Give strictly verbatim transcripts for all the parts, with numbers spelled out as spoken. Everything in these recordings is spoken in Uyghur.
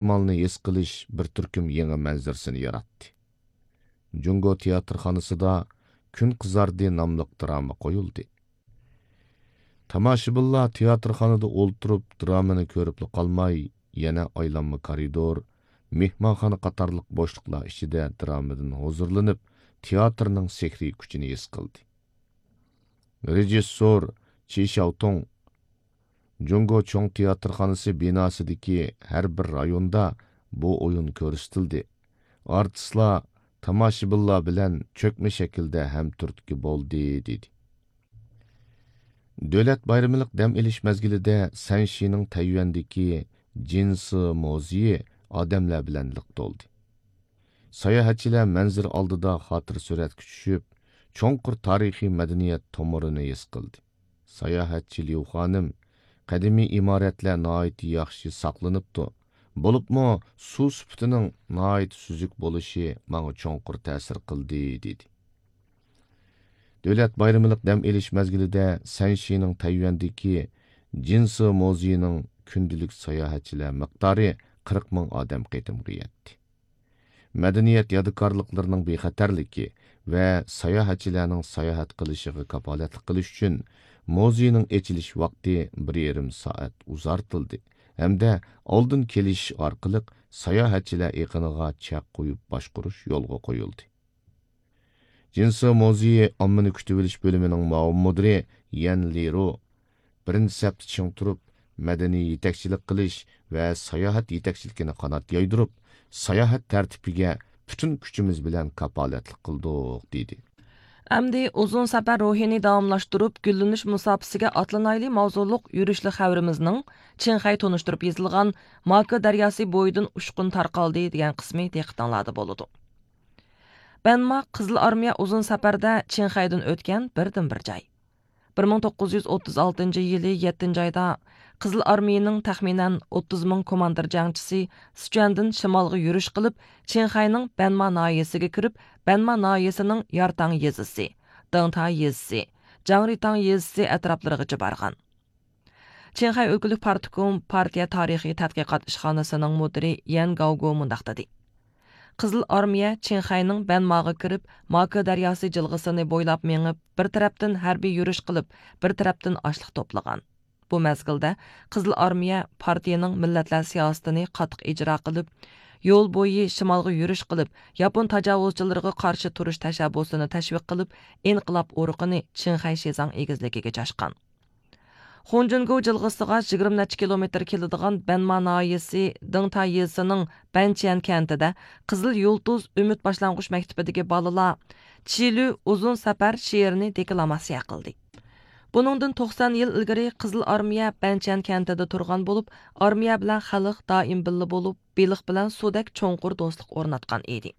ئىستىقبالنى ھېس قىلىش بىر تۈركۈم يېڭى مەنزىرىسىنى ياراتتى. جۇڭگو تىياتىرخانىسىدا كۈن قىزاردى ناملىق دىراما قويۇلدى. تاماشىبىنلار تىياتىرخانىدا ئولتۇرۇپ دىرامىنى كۆرۈپلا قالماي، يەنە ئايلانما كارىدور، مېھمانخانا قاتارلىق بوشلۇقلار ئىچىدە دىرامىدىن ھۇزۇرلىنىپ، تىياتىرنىڭ سېھرىي كۈچىنى ھېس قىلدى. رېژىسسور چى شياۋتۇڭ جۇڭگو چوڭ تىياتىرخانىسى بىناسىدىكى ھەر بىر رايوندا بۇ ئويۇن كۆرسىتىلدى. ئارتىسلار تاماشىبىنلار بىلەن چۆكمە شەكىلدە ھەمتۈرتكە بولدى، دېدى. دۆلەت بايرىملىق دەم ئېلىش مەزگىلىدە سەنشىنىڭ تەييۈەندىكى جىنسى مۇزېيى ئادەملەر بىلەن لىق تولدى. ساياھەتچىلەر مەنزىرە ئالدىدا خاتىرە سۈرەتكە چۈشۈپ، چوڭقۇر تارىخىي مەدەنىيەت تومۇرىنى ھېس قىلدى. ساياھەتچى ليۇ خانىم، قەدىمىي ئىمارەتلەر ناھايىتى ياخشى ساقلىنىپتۇ. بولۇپمۇ سۇ سۈپىتىنىڭ ناھايىتى سۈزۈك بولۇشى ماڭا چوڭقۇر تەسىر قىلدى، دېدى. دۆلەت بايرىملىق دەم ئېلىش مەزگىلىدە سەنشىنىڭ تەييۈەندىكى جىنسى مۇزېيىنىڭ كۈندىلىك ساياھەتچىلەر مىقدارى قىرىق مىڭ ئادەم قېتىمغا يەتتى. مەدەنىيەت يادىكارلىقلىرىنىڭ بىخەتەرلىكى ۋە ساياھەتچىلەرنىڭ ساياھەت قىلىشىغا كاپالەتلىك قىلىش ئۈچۈن، مۇزېينىڭ ئېچىلىش ۋاقتى بىر يېرىم سائەت ئۇزارتىلدى ھەمدە ئالدىن كېلىش ئارقىلىق ساياھەتچىلەر ئېقىنىغا چەك قويۇپ باشقۇرۇش يولغا قويۇلدى. جىنسى مۇزېيى ئاممىنى كۈتۈۋېلىش بۆلۈمىنىڭ مۇئاۋىن مۇدىرى يەن لىرۇ، بىرىنچى سەپتە چىڭ تۇرۇپ، مەدەنىي يېتەكچىلىك قىلىش ۋە ساياھەت يېتەكچىلىكىنى قانات يايدۇرۇپ، ساياھەت تەرتىپىگە پۈتۈن كۈچىمىز بىلەن كاپالەتلىك قىلدۇق، دېدى. ئەمدى ئۇزۇن سەپەر روھىنى داۋاملاشتۇرۇپ، گۈللىنىش مۇساپىسىگە ئاتلىنايلى ماۋزۇلۇق يۈرۈشلۈك خەۋىرىمىزنىڭ چىڭخەي تونۇشتۇرۇپ يېزىلغان ماكې دەرياسى بويىدىن ئۇچقۇن تارقالدى دېگەن قىسمى دىققىتىڭلاردا بولىدۇ. بەنما قىزىل ئارمىيە ئۇزۇن سەپەردە چىڭخەيدىن ئۆتكەن بىردىنبىر جاي. بىر مىڭ توققۇز يۈز ئوتتۇز ئالتىنچى يىلى يەتتىنچى ئايدا قىزىل ئارمىيىنىڭ تەخمىنەن ئوتتۇز مىڭ كوماندىر جەڭچىسى سىچۈەندىن شىمالغا يۈرۈش قىلىپ، چىڭخەينىڭ بەنما ناھىيەسىگە كىرىپ، بەنما ناھىيەسىنىڭ يارتاڭ يېزىسى، دېڭتا يېزىسى، جاڭرىتاڭ يېزىسى ئەتراپلىرىغىچە بارغان. چىڭخەي ئۆلكىلىك پارتكوم پارتىيە تارىخىي تەتقىقات ئىشخانىسىنىڭ مۇدىرى يەن گاۋگو مۇنداق دېدى: قىزىل ئارمىيە چىڭخەينىڭ بەنماغا كىرىپ، ماكې دەرياسى جىلغىسىنى بويلاپ مېڭىپ، بىر تەرەپتىن ھەربىي يۈرۈش قىلىپ، بىر تەرەپتىن ئاشلىق توپلىغان. بۇ مەزگىلدە قىزىل ئارمىيە پارتىيىنىڭ مىللەتلەر سىياسىتىنى قاتتىق ئىجرا قىلىپ، يول بويى شىمالغا يۈرۈش قىلىپ، ياپون تاجاۋۇزچىلىرىغا قارشى تۇرۇش تەشەببۇسىنى تەشۋىق قىلىپ، ئىنقىلاب ئۇرۇقىنى چىڭخەي شىزاڭ ئېگىزلىكىگە چاچقان. خۇڭجۈنگو جىلغىسىغا يىگىرمە نەچچە كىلومېتىر كېلىدىغان بەنما ناھىيەسى دېڭتا يېزىسىنىڭ بەنچيەن كەنتىدە قىزىل يۇلتۇز ئۈمىد باشلانغۇچ مەكتىپىدىكى بالىلار چىلۈ ئۇزۇن سەپەر شېئىرىنى دېكلاماتسىيە قىلدى. بۇنىڭدىن توقسان يىل ئىلگىرى قىزىل ئارمىيە بەنچيەن كەنتىدە تۇرغان بولۇپ، ئارمىيە بىلەن خەلق دائىم بىللە بولۇپ، بېلىق بىلەن سۇدەك چوڭقۇر دوستلۇق ئورناتقان ئىدى.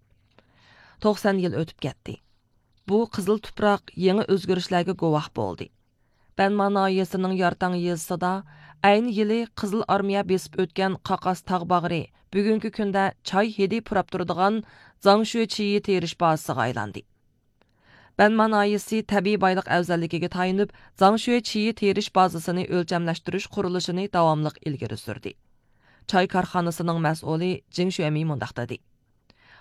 توقسان يىل ئۆتۈپ كەتتى. بۇ قىزىل تۇپراق يېڭى ئۆزگىرىشلەرگە گۇۋاھ بولدى. بەنما ناھىيەسىنىڭ يارتاڭ يېزىسىدا ئەينى يىلى قىزىل ئارمىيە بېسىپ ئۆتكەن قاقاس تاغ باغرى بۈگۈنكى كۈندە چاي ھىدى پۇراپ تۇرىدىغان زاڭشۈې چىيى تېرىش بازىسىغا ئايلاندى. بەنما ناھىيەسى تەبىئىي بايلىق ئەۋزەللىكىگە تايىنىپ، زاڭشۈې چىيى تېرىش بازىسىنى ئۆلچەملەشتۈرۈش قۇرۇلۇشىنى داۋاملىق ئىلگىرى سۈردى. چاي كارخانىسىنىڭ مەسئۇلى جىڭ شۈەمى مۇنداق دېدى: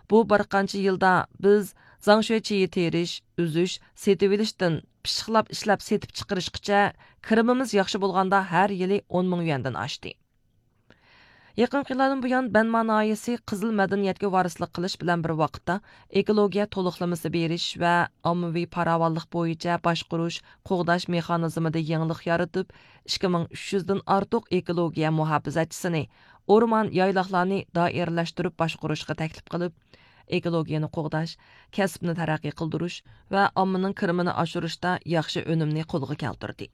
بۇ بىر قانچە يىلدا بىز زاڭشۈې چىيى تېرىش، ئۈزۈش، سېتىۋېلىشتىن پىششىقلاپ ئىشلەپ سېتىپ چىقىرىشقىچە كىرىمىمىز ياخشى بولغاندا ھەر يىلى ئون مىڭ يۈەندىن ئاشتى. يېقىنقى يىللاردىن بۇيان، بەنما ناھىيەسى قىزىل مەدەنىيەتكە ۋارىسلىق قىلىش بىلەن بىر ۋاقىتتا، ئېكولوگىيە تولۇقلىمىسى بېرىش ۋە ئاممىۋى پاراۋانلىق بويىچە باشقۇرۇش، قوغداش مېخانىزمىدا يېڭىلىق يارىتىپ، ئىككى مىڭ ئۈچ يۈزدىن ئارتۇق ئېكولوگىيە مۇھاپىزەتچىسىنى، ئورمان، يايلاقلارنى دائىرىلەشتۈرۈپ باشقۇرۇشقا تەكلىپ قىلىپ، ئېكولوگىيەنى قوغداش، كەسىپنى تەرەققىي قىلدۇرۇش ۋە ئاممىنىڭ كىرىمىنى ئاشۇرۇشتا ياخشى ئۈنۈمنى قولغا كەلتۈردى.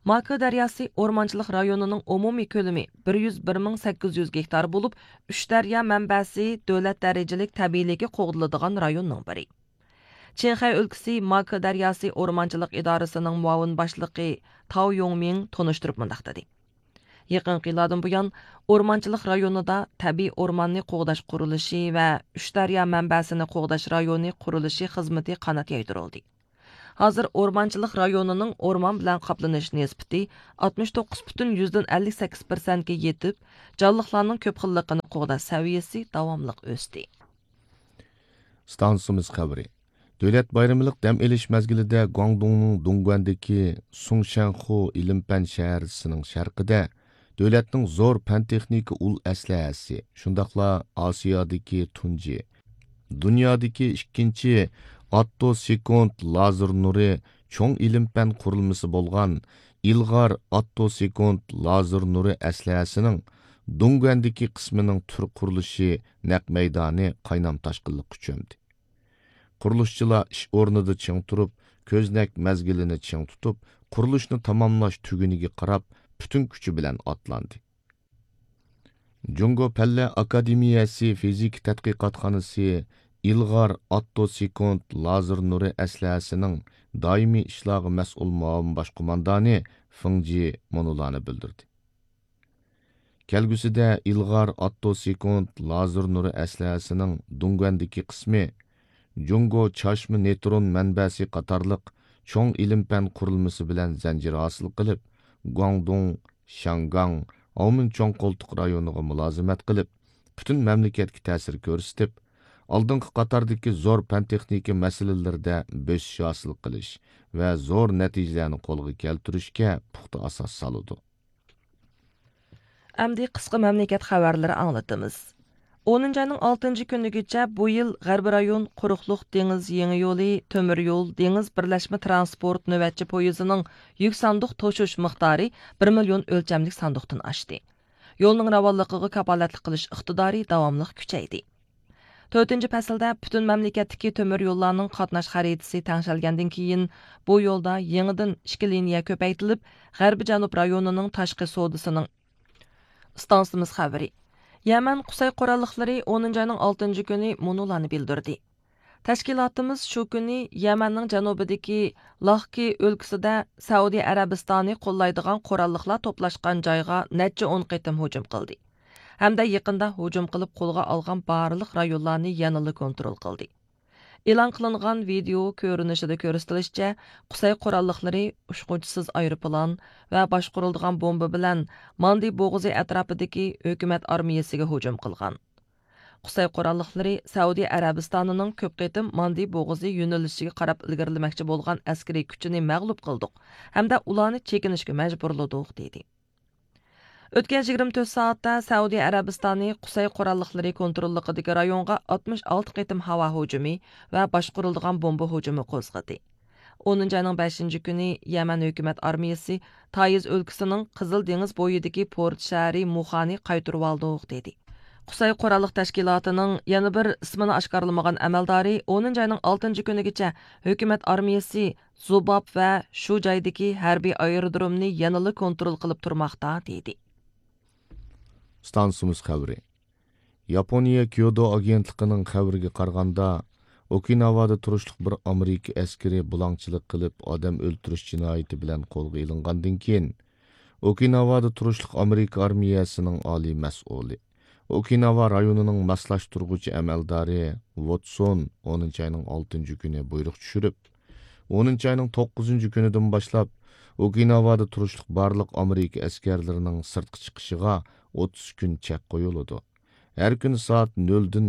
ماكې دەرياسى ئورمانچىلىق رايونىنىڭ ئومۇمىي كۆلىمى بىر يۈز بىر مىڭ سەككىز يۈز گېكتار بولۇپ، ئۈچ دەريا مەنبەسى دۆلەت دەرىجىلىك تەبىئىيلىكى قوغدىلىدىغان رايوننىڭ بىرى. چىڭخەي ئۆلكىسى ماكې دەرياسى ئورمانچىلىق ئىدارىسىنىڭ مۇئاۋىن باشلىقى تاۋ يوڭمىڭ تونۇشتۇرۇپ مۇنداق دېدى: يېقىنقى يىللاردىن بۇيان، ئورمانچىلىق رايونىدا تەبىئىي ئورماننى قوغداش قۇرۇلۇشى ۋە ئۈچ دەريا مەنبەسىنى قوغداش رايونى قۇرۇلۇشى خىزمىتى قانات يايدۇرۇلدى. ھازىر ئورمانچىلىق رايونىنىڭ ئورمان بىلەن قاپلىنىش نىسبىتى ئاتمىش توققۇز پۈتۈن يۈزدىن ئەللىك سەككىز پىرسەنتكە يېتىپ، جانلىقلارنىڭ كۆپ خىللىقىنى قوغداش سەۋىيەسى داۋاملىق ئۆستى. ئىستانسىمىز خەۋىرى. دۆلەت بايرىملىق دەم ئېلىش مەزگىلىدە گۇاڭدۇڭنىڭ دۇڭگۇەندىكى سۇڭشەنخۇ ئىلىم-پەن شەھەرچىسىنىڭ شەرقىدە دۆلەتنىڭ زور پەن-تېخنىكا ئۇل ئەسلىھەسى، شۇنداقلا ئاسىيادىكى تۇنجى، دۇنيادىكى ئىككىنچى ئاتتو سېكۇنت لازېر نۇرى چوڭ ئىلىم-پەن قۇرۇلمىسى بولغان ئىلغار ئاتتو سېكۇنت لازېر نۇرى ئەسلىھەسىنىڭ دۇڭگۇەندىكى قىسمىنىڭ تۈر قۇرۇلۇشى نەق مەيدانى قاينام تاشقىنلىققا چۆمدى. قۇرۇلۇشچىلار ئىش ئورنىدا چىڭ تۇرۇپ، كۆزنەك مەزگىلىنى چىڭ تۇتۇپ، قۇرۇلۇشنى تاماملاش تۈگۈنىگە قاراپ پۈتۈن كۈچى بىلەن ئاتلاندى. جۇڭگو پەنلەر ئاكادېمىيەسى فىزىكا تەتقىقاتخانىسى ئىلغار ئاتتو سېكۇنت لازېر نۇرى ئەسلىھەسىنىڭ دائىمىي ئىشلارغا مەسئۇل مۇئاۋىن باش قوماندانى فېڭ جى مۇنۇلارنى بىلدۈردى. كەلگۈسىدە ئىلغار ئاتتو سېكۇنت لازېر نۇرى ئەسلىھەسىنىڭ دۇڭگۇەندىكى قىسمى جۇڭگو چاچما نېيترون مەنبەسى قاتارلىق چوڭ ئىلىم-پەن قۇرۇلمىسى بىلەن زەنجىر ھاسىل قىلىپ، گۇاڭدۇڭ، شياڭگاڭ، ئاۋمېن چوڭ قولتۇق رايونىغا مۇلازىمەت قىلىپ، پۈتۈن مەملىكەتكە تەسىر كۆرسىتىپ، ئالدىنقى قاتاردىكى زور پەن-تېخنىكا مەسىلىلىرىدە بۆسۈش ھاسىل قىلىش ۋە زور نەتىجىلەرنى قولغا كەلتۈرۈشكە پۇختا ئاساس سالىدۇ. ئەمدى قىسقا مەملىكەت خەۋەرلىرى ئاڭلىتىمىز. ئونىنچى ئاينىڭ ئالتىنچى كۈنىگىچە بۇ يىل غەربىي رايون قۇرۇقلۇق دېڭىز يېڭى يولى تۆمۈر يول دېڭىز بىرلەشمە تىرانسپورت نۆۋەتچى پويىزىنىڭ يۈك ساندۇق توشۇش مىقدارى بىر مىليون ئۆلچەملىك ساندۇقتىن ئاشتى. يولنىڭ راۋانلىقىغا كاپالەتلىك قىلىش ئىقتىدارى داۋاملىق كۈچەيدى. تۆتىنچى پەسىلدە پۈتۈن مەملىكەتتىكى تۆمۈر يوللارنىڭ قاتناش خەرىتىسى تەڭشەلگەندىن كېيىن، بۇ يولدا يېڭىدىن ئىككى لىنىيە كۆپەيتىلىپ، غەربىي جەنۇب رايونىنىڭ تاشقى سودىسىنىڭ ئىستانسىمىز خەۋىرى. يەمەن قۇسەي قوراللىقلىرى ئونىنچى ئاينىڭ ئالتىنچى كۈنى مۇنۇلارنى بىلدۈردى. تەشكىلاتىمىز شۇ كۈنى يەمەننىڭ جەنۇبىدىكى لاھكى ئۆلكىسىدە سەئۇدى ئەرەبىستانى قوللايدىغان قوراللىقلار توپلاشقان جايغا نەچچە ئون قېتىم ھۇجۇم قىلدى ھەمدە يېقىندا ھۇجۇم قىلىپ قولغا ئالغان بارلىق رايونلارنى يەنىلا كونترول قىلدى. ئېلان قىلىنغان ۋىدېئو كۆرۈنۈشىدە كۆرسىتىلىشىچە، قۇسەي قوراللىقلىرى ئۇچقۇچىسىز ئايروپىلان ۋە باشقۇرۇلىدىغان بومبا بىلەن ماندى بوغۇزى ئەتراپىدىكى ھۆكۈمەت ئارمىيەسىگە ھۇجۇم قىلغان. قۇسەي قوراللىقلىرى سەئۇدى ئەرەبىستانىنىڭ كۆپ قېتىم ماندى بوغۇزى يۆنىلىشىگە قاراپ ئىلگىرىلىمەكچى بولغان ئەسكىرىي كۈچىنى مەغلۇپ قىلدۇق ھەمدە ئۇلارنى چېكىنىشكە مەجبۇرلىدۇق، دېدى. ئۆتكەن يىگىرمە تۆت سائەتتە سەئۇدى ئەرەبىستانى قۇسەي قوراللىقلىرى كونتروللۇقىدىكى رايونغا ئاتمىش ئالتە قېتىم ھاۋا ھۇجۇمى ۋە باشقۇرۇلىدىغان بومبا ھۇجۇمى قوزغىدى. ئونىنچى ئاينىڭ بەشىنچى كۈنى يەمەن ھۆكۈمەت ئارمىيەسى تايىز ئۆلكىسىنىڭ قىزىل دېڭىز بويىدىكى پورت شەھىرى مۇخانى قايتۇرۇۋالدۇق، دېدى. قۇسەي قوراللىق تەشكىلاتىنىڭ يەنە بىر ئىسمىنى ئاشكارىلىمىغان ئەمەلدارى ئونىنچى ئاينىڭ ئالتىنچى كۈنىگىچە ھۆكۈمەت ئارمىيەسى زۇباب ۋە شۇ جايدىكى ھەربىي ئايرودرومنى يەنىلا كونترول قىلىپ تۇرماقتا، دېدى. ئىستانسىمىز خەۋىرى. ياپونىيە كيودو ئاگېنتلىقىنىڭ خەۋىرىگە قارىغاندا، ئوكىناۋادا تۇرۇشلۇق بىر ئامېرىكا ئەسكىرى بۇلاڭچىلىق قىلىپ ئادەم ئۆلتۈرۈش جىنايىتى بىلەن قولغا ئېلىنغاندىن كېيىن، ئوكىناۋادا تۇرۇشلۇق ئامېرىكا ئارمىيەسىنىڭ ئالىي مەسئۇلى، ئوكىناۋا رايونىنىڭ ماسلاشتۇرغۇچى ئەمەلدارى ۋوتسون ئونىنچى ئاينىڭ ئالتىنچى كۈنى بۇيرۇق چۈشۈرۈپ، ئونىنچى ئاينىڭ توققۇزىنچى كۈنىدىن باشلاپ ئوكىناۋادا تۇرۇشلۇق بارلىق ئامېرىكا ئەسكەرلىرىنىڭ سىرتقا چىقىشىغا ئوتتۇز كۈن چەك قويۇلىدۇ. ھەر كۈنى سائەت نۆلدىن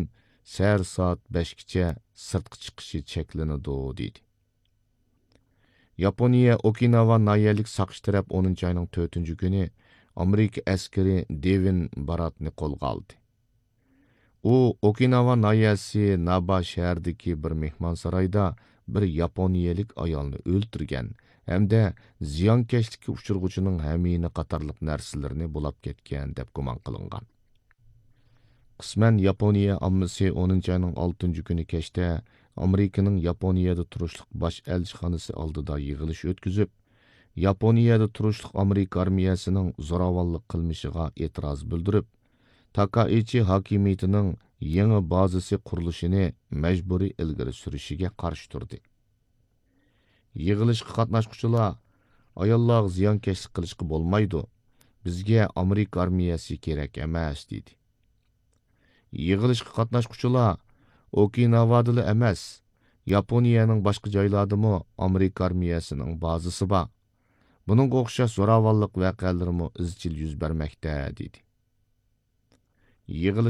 سەھەر سائەت بەشكىچە سىرتقا چىقىشى چەكلىنىدۇ، دېدى. ياپونىيە ئوكىناۋا ناھىيەلىك ساقچى تەرەپ ئونىنچى ئاينىڭ تۆتىنچى كۈنى ئامېرىكا ئەسكىرى دېۋىن باراتنى قولغا ئالدى. ئۇ ئوكىناۋا ناھىيەسى نابا شەھىرىدىكى بىر مېھمانسارايدا بىر ياپونىيەلىك ئايالنى ئۆلتۈرگەن ھەمدە زىيانكەشلىككە ئۇچرىغۇچىنىڭ ھەمىيىنى قاتارلىق نەرسىلىرىنى بۇلاپ كەتكەن دەپ گۇمان قىلىنغان. قىسمەن ياپونىيە ئاممىسى ئونىنچى ئاينىڭ ئالتىنچى كۈنى كەچتە ئامېرىكىنىڭ ياپونىيەدە تۇرۇشلۇق باش ئەلچىخانىسى ئالدىدا يىغىلىش ئۆتكۈزۈپ، ياپونىيەدە تۇرۇشلۇق ئامېرىكا ئارمىيەسىنىڭ زوراۋانلىق قىلمىشىغا ئېتىراز بىلدۈرۈپ، تاكائىچى ھاكىمىيىتىنىڭ يېڭى بازىسى قۇرۇلۇشىنى مەجبۇرىي ئىلگىرى سۈرۈشىگە قارشى تۇردى. يىغىلىشقا قاتناشقۇچىلار، «ئاياللارغا زىيانكەشلىك قىلىشقا بولمايدۇ، بىزگە ئامېرىكا ئارمىيەسى كېرەك ئەمەس» دېدى. يىغىلىشقا قاتناشقۇچىلار، «ئوكىناۋادىلا ئەمەس، ياپونىيەنىڭ باشقا جايلاردىمۇ ئامېرىكا ئارمىيەسىنىڭ بازىسى بار. بۇنىڭغا ئوخشاش زوراۋانلىق ۋەقەلىرىمۇ ئىزچىل يۈز بەرمەكتە، دېدى. يىغىلىش